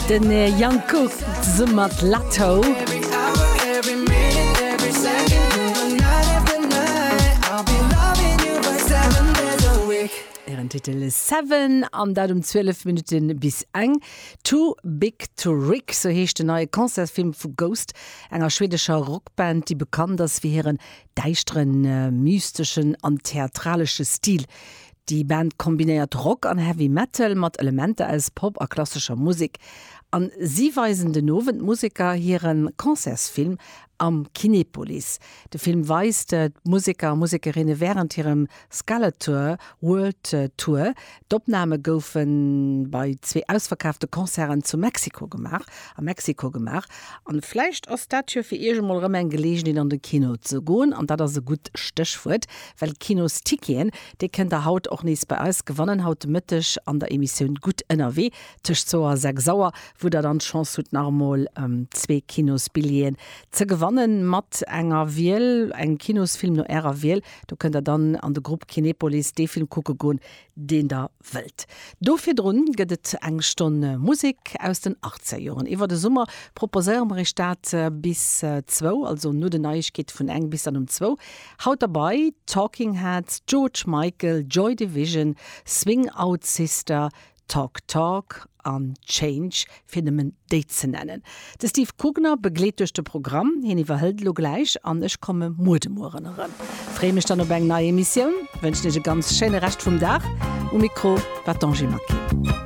Den Young Cook zesumme mat Latto. Hiren Titel Seven an dat um 12 Minutte bis eng. Too Big To Rick, sou heescht den neie Concertsfilm vu Ghost, enger schwedescher Rockband, déi bekannt ass fir hiren däischteren, mysteschen an theatralesche Stil. Déi Band kombinéiert Rock an Heavy Metal mat Elementer aus Pop a klassescher Musek. An si weisen den Owend d'Museker hire Concertsfilm am Kinepolis. De Film weist d'Museker a Musekerinne wärend hirem Skeletour World Tour. D'Opname goufe bei zwee ausverkaafte Concerten zu Mexiko gemaach, a Mexiko gemaach. An vläicht ass dat jo fir iech emol erëm eng Geleegenheet an de Kino ze goen. An dat ass e gutt Stéchwuert, well Kinosticketen, déi kënnt der haut och nees bei eis gewannen, haut de Mëtteg an der Emissioun Gutt ënnerwee tëscht zwou a 6 Auer, wou der dann d'Chance hutt nach emol zwee Kinosbilljeeën ze gewannen mat enger Wiel, engem Kinosfilm no ärer Wiel. Do kënnt der dann an de Grupp Kinepolis dee Film kucke goen, deen der wëllt. Do virdrun gëtt et eng Stonn Musek aus den Achtzegerjoren. Iwwer de Summer proposéiere mer iech dat bis zwou, also no den Neiegkeete vun eng bis dann um zwou. Haut derbei, Talking Heads, George Michael, Joy Division, Swing Out Sister, Talk Talk an Change, fir nëmmen déi ze nennen. De Steve Kugner begleet duerch de Programm, hien iwwerhëlt elo gläich an ech komme muer de Mueren erëm. Freeë mech dann op eng nei Emissioun, wënschen iech e ganz schéine Rescht vum Dag. Um Mikro war d'Angie Maquet.